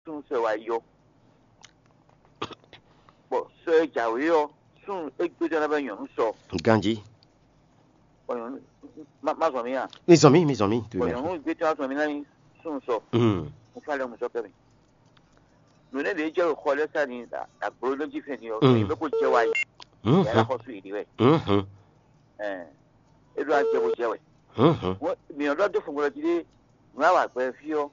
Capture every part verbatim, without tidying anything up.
súnnu sɔ e wá yi ɔ́, bɔ sɔ e jǎwe ɔ́, súnnu é gbéjɔ ná bɛ nyɔ̌nu sɔ. Ganjí. Bɔ nyɔ̌nu má má zɔn mì a? Mi zɔn mì, mi zɔn mì, tu Bɔ mɛ. Nyɔ̌nu gbéjɔ ná zɔn mì ná nyí súnnu sɔ. Mm. Mo fá lɛ mo sɔ kɛ mi. Nǔ nɛ́ ɖě jɛ xɔ lɛ́ sá ni agblo ló jí fɛn ni ɔ́, Mm. mi bɛ kó jɛ wá yi. Mhm. Yàrá xɔ sú yìí wɛ. Mhm. Ɛɛ, e ɖo ajɛ bó jɛ wɛ. Mhm. Wọ́n mìíràn ɖɔ dó fún gbɔdɔ jí ɖé nǔ àwà gbɛ fí ɔ́,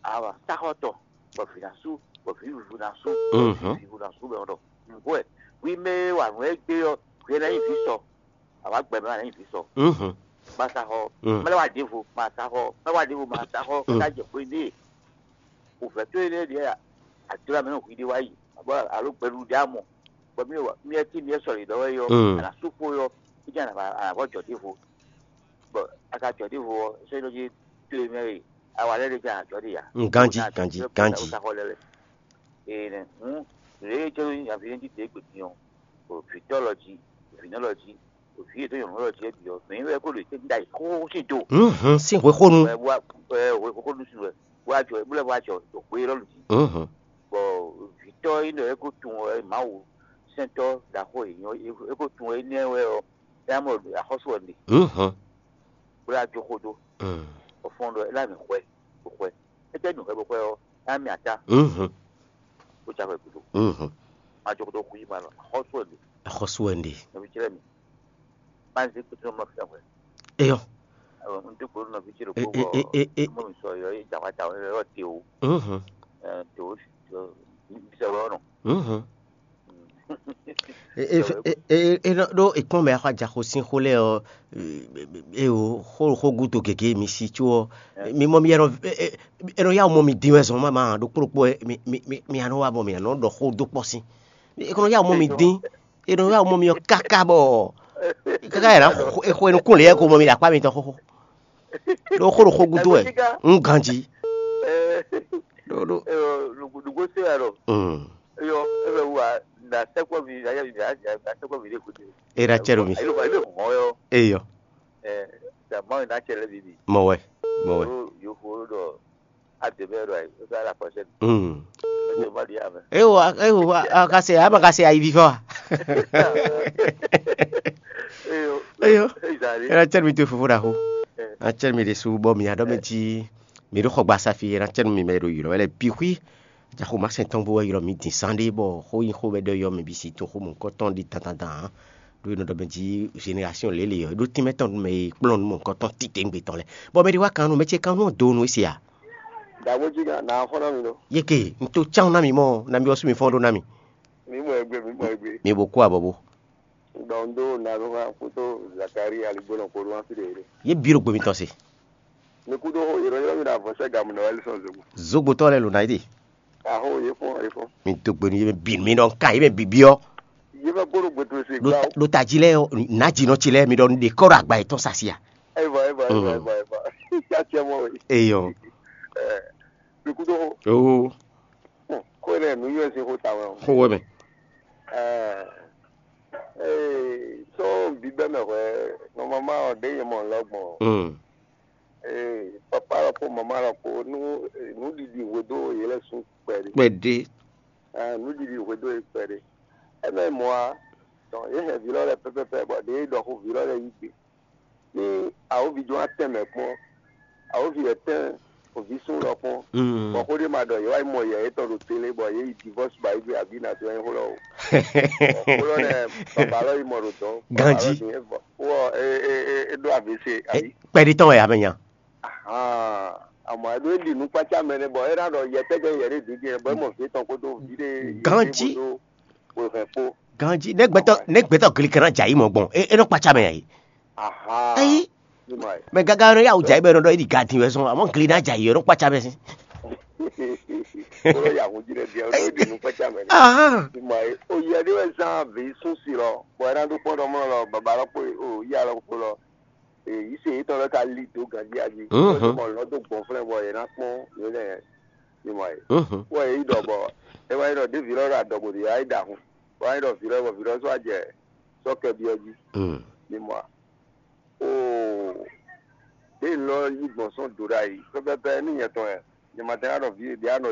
àwà sáxɔtɔ, bɔ vǐ ná sú, bɔ vǐ vǐvú ná sú, Mhm. Vǐvú ná sú bɛ ɔ́ ɖɔ nǔgbó wɛ. Wí mɛ wa nǔ e gbé ɔ́, hwi ná nyí vǐ sɔ, àwa gbɛ mɛ wa ná nyí vǐ sɔ. Mhm. Ma sa xɔ, Mm. mɛ lɛ wa ɖěvo, ma sa xɔ, mɛ wa ɖěvo, ma sa xɔ, Mm. ká jɛ xwé ɖé. Wǔvɛ́ towe lɛ́ɛ ɖíe a dó amɛ nú hwi ɖé wá yi, bɔ alo gbɛɖuɖu ɖé a mɔ, bɔ mí wa mí ɛ tí mí ɛ sɔlǐ ɖɔ wɛ yɔ, Mm. a nǎ sú xó yɔ, é jɛ a nǎ vɔ jɔ ɖěvo, bɔ a ka jɔ ɖěvo ɔ́, sɔ́ nɔ jí tlé mɛ e a wa lɛ́ ɖé jɛ a nǎ jɔ ɖe ya. Mm, ganjí, Bó ná ganjí, jɔ ganjí. Sa xɔ lɛ lɛ. Ee nɛ, hǔn lě e jɛ nyaví ɖé ɖíɖě gbe din ɔ́, ɖo vǐtɔ́ lɔ jí, vǐnɔ lɔ jí, ɖo vǐ e dó nyɔ̌nu lɔ jí é bǐ ɔ́, mɛ nyí wɛ kó ɖo yětɛn ɖ'ayǐ xóxó sín do. Mhm, sín hwexónu. Wɛ wá wɛ wɛ xóxó nú sin wɛ wá jɔ bó lɛ́ wá jɔ ɖo xwé élɔ́ jí. Mhm. Bɔ vǐtɔ́ e nɔ é ko tunwun wɛ Mawu sɛntɔ́ ɖaxó e nyɔ́ é ko tunwun wɛ énɛ́ wɛ ɔ́, é ná mɔ axɔ́sú ɔ́ ɖe, Mhm. Bó lɛ́ wá jó xó dó. Mm. Bɔ fɔ́n ɖɔ é ná mɛ hwɛ bó hwɛ. É tɛ́ nǔ hwɛ bó hwɛ ɔ́, é ná mɛ atá Mhm. Bó já hwɛ gúdo. Mhm. Má jó xó dó xwí ma nɔ axɔ́sú ɔ́ ɖe. Axɔ́sú wɛ un ɖe. Nɔví cɛ́lɛ́ mi. Má zé kútú nɔ mlɔ́ fínɛ́ hwɛ. Eyɔ. Un dó gbe nú nɔví ce ɖokpó bɔ mɔ mi sɔ yɔ é jǎwá jǎwá yɔ te o. Mhm. Te o bisɛ wɛ ɔnɔ. Mhm. E e e e e nɔ ɖó e kpɔn mɛ axɔ ajaxo sín xó lɛ ɔ, e o xó xó gúdo gěgé mi si có ɔ, mi mɔ mi ɛnɔ e e ɛnɔ yá mɔ mi dín wɛ zɔn mama ɖokpó ɖokpó mi mi mi anɔ wa bɔ mi anɔ ɖɔ xó dó kpɔ sín. E kɔnɔ yá mɔ mi dín, e nɔ yá mɔ mi ɔ káká bɔ káká yɛ ná xo e xo e nukún lě yɛ ko mɔ mi ɖo akpá mitɔn xóxó. Ɖó xó ɖo xó gúdo wɛ, un ganjí. Ɖó ɖó. Nugbo se wɛ ɖɔ. Mm. Eyɔ ebe wu a na sɛkpɔ vi na yɛ vi na sɛkpɔ vi de kutu. E na cɛ ɖo mi. Elo ba elo mɔ yɔ. Eyɔ. Ɛ da ma na cɛ lɛ bibi. Mɔ wɛ, mɔ wɛ. Yo fo ɖɔ a de bɛ ɖɔ ayi o sa la kɔsɛ. Mm. Ebe ma di amɛ. Ewo ewo a ka se ama ka se ayi vivɔ. Eyɔ. Eyɔ. Ezali. E na cɛ ɖo mi to fofo ɖaxo. Na cɛ ɖo mi ɖe su bɔ mi aɖɔ mɛ jí. Mi ɖo xɔ gba safi e na cɛ nú mi mɛ e ɖo ylɔ́ wɛ lɛ́ɛ bǐ xwí. Jaxo má sɛn tɔn bó wɛ ylɔ́ mi din sán ɖé bɔ xó nyi xó wɛ ɖɔ yɔ mɛ bǐ si to xó mɔ̌hunkɔtɔn ɖi dandandan ǎ. Ɖó e nɔ ɖɔ mɛ jí zenerasiɔn lěle ɔ́, é ɖó tínmɛ tɔn nú mɛ e kplɔ́n nú mɔ̌hunkɔtɔn titewungbe tɔn lɛ́ɛ. Bɔ mɛ ɖé wá kan nú mɛ ce kan nú ɔ́ do nú é se a? Dǎgbó jí kan nǎ xɔ ná mi ɖó. Yeke, un to cán ná mi mɔ, ná mi ɔ́ sú mi fɔ́n ɖó ná mi. Mi mɔ egbe, mi mɔ egbe. Mi bo kú abɔbó. Dɔn do na do ma kuto Zakari aligbó nɔ kó do ma fi de. Ye biro gbe mitɔn se. Mi kudo ho yɔrɔ yɔrɔ mi na vɔ sɛ gamu na wali sɔn zogo. Zogbotɔ lɛ lo na yi de. Aho ye fɔn ye fɔn. Mi do gbe nu ye bɛ bi mi nɔ ka ye bɛ bi biɔ. Ye bɛ gbɔdɔ gbɛtɔ se gba. Lo ta ji lɛ na ji nɔ ci lɛ mi dɔ de kɔrɔ agba yetɔn sasia. Eva eva eva eva eva. Ya tiɛ mɔ. Eyɔ. Mi kudo ho. Oo. Xó ɖé nǔ yɔ́ sín xó tawɛ o. Xó wɛ mɛ. Ɛɛ, ee, sɔ́ bíbɛ́ mɛ hwɛ nɔmama ɔ́ ɖé nyɛ mɔ lɔ gbɔn. Mm. Ee, papa lɔ kpó mama lɔ kpó nú nǔɖiɖi hwedó yě lɛ́ sún kpɛɖé. Kpɛɖé. Ɛɛ, nǔɖiɖi hwedó yě kpɛɖé. Ɛmɛ mɔ̌ a, dɔn yě hɛn vǐ lɔ lɛ́ɛ pɛ́pɛ́pɛ́ bɔ ɖě ɖɔ xó vǐ lɔ lɛ́ɛ yí gbe. Ní awǒvi jɔn wá tɛn mɛ kpɔ́n, awǒvi wɛ tɛn òví sún lɔ kpɔ́n, bɔ xó ɖé ma ɖɔ yě wá yi mɔ yɛ yětɔn ɖo télé bɔ yě yi divɔ́s ba yí gbe abǐ ná dó nyí xó lɔ o. Xó lɔ nɛ baba lɔ yi mɔ ɖo dɔn. Ganjí. Wɔ é é é é ɖó A V C àbí? Kpɛɖí tɔn wɛ amɛ nya. Ahan, àmọ́ ɛ ɖó é ɖi nukpácá mɛ nɛ bɔ é ná ɖɔ yɛ tɛ́ jɛ yɛ ɖé dǐndín bɔ é mɔ vǐ tɔn kpódó vǐ ɖé. Ganjí. Kpódó wěhɛn kpó. Ganjí, nɛ́ gbɛtɔ́ nɛ́ gbɛtɔ́ glikɛn ná jɛ ayǐ mɔ gbɔn é é nɔ kpácá mɛ ayǐ. Ahan. Eyi. Mɛ gaga nɔ yá wò jɛ ayǐ bɛ nɔ ɖɔ é ɖi gadin wɛ sɔn amɔ gli ná jɛ ayǐ ɔ́ nɔ kpácá mɛ sín. Kpɔlɔ ya hun jí ɖe bia o ɖi nu kpɛtsa mɛ. Ahan. Ima ye o yɛ ɖe wɛ zan ve sun si lɔ bɔ ɛna ɖo kpɔn ɖɔ mɔ lɔ baba lɔ kpo o ya lɔ kpo lɔ. Yi se yitɔ lɔ ka li do ganji aji. Mɔ lɔ do gbɔn flɛ bɔ yɛ na kpɔn yɛ lɛ. Ima ye. Wɔ yɛ yi dɔ bɔ e wa yi dɔ de vi lɔ ɖo adɔgo de ya yi da hun. Wa yi dɔ vi lɔ bɔ vi lɔ sɔ ajɛ sɔ kɛ biɔ ji. Ima. Oo. Ɖe lɔ yi gbɔn sɔn do ɖe ayi pɛpɛpɛ ní nyɛ tɔn yɛ. Nyɛ ma tɛ na ɖɔ vi ɖe anɔ